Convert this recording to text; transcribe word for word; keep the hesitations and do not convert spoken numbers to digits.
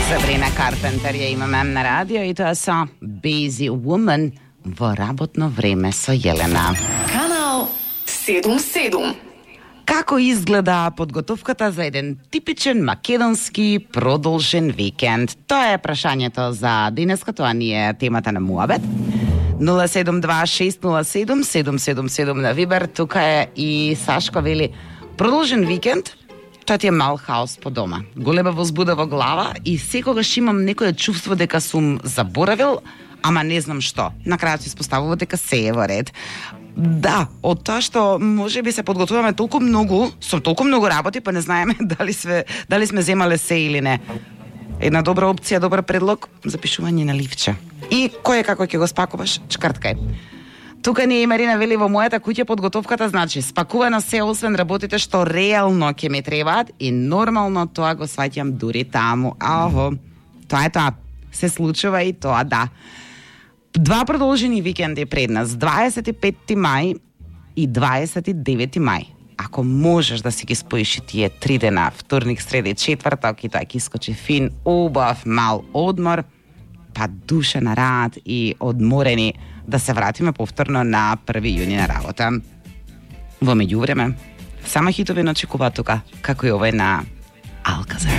Сабрина Карпентер ја имаме на радио и тоа со Busy Woman во работно време со Јелена. Канал седум седум. Како изгледа подготовката за еден типичен македонски продолжен викенд? Тоа е прашањето за денеска, тоа ни е темата на Муабет. нула седум два шест нула седум седум седум седум на Вибер. Тука е и Сашко вели: продолжен викенд, тоа ти е мал хаос по дома. Голема возбуда во глава и секогаш имам некое чувство дека сум заборавил, ама не знам што. На крајот се испоставува дека се е во ред. Да, од тоа што може би се подготвуваме толку многу, со толку многу работи, па не знаеме дали сме дали сме земале се или не. Една добра опција, добар предлог, запишување на ливче. И кој е како ќе го спакуваш? Чкрткај. Тука ни е Марина вели: во мојата куќа подготовката значи спакувано се освен работите што реално ќе ми требаат и нормално тоа го сваќам дури таму. Ахо, тоа е тоа. Се случува и тоа, да. Два продолжени викенди пред нас, дваесет и петти мај и дваесет и деветти мај. Ако можеш да си ги споиш и тие три дена, вторник, среда и четврток, и тоа ќе искочи фин, убав, мал одмор, па душа на рад и одморени да се вратиме повторно на први јуни на работа. Во меѓувреме, само хитови не очекуваат тука, како и овој на Алказар.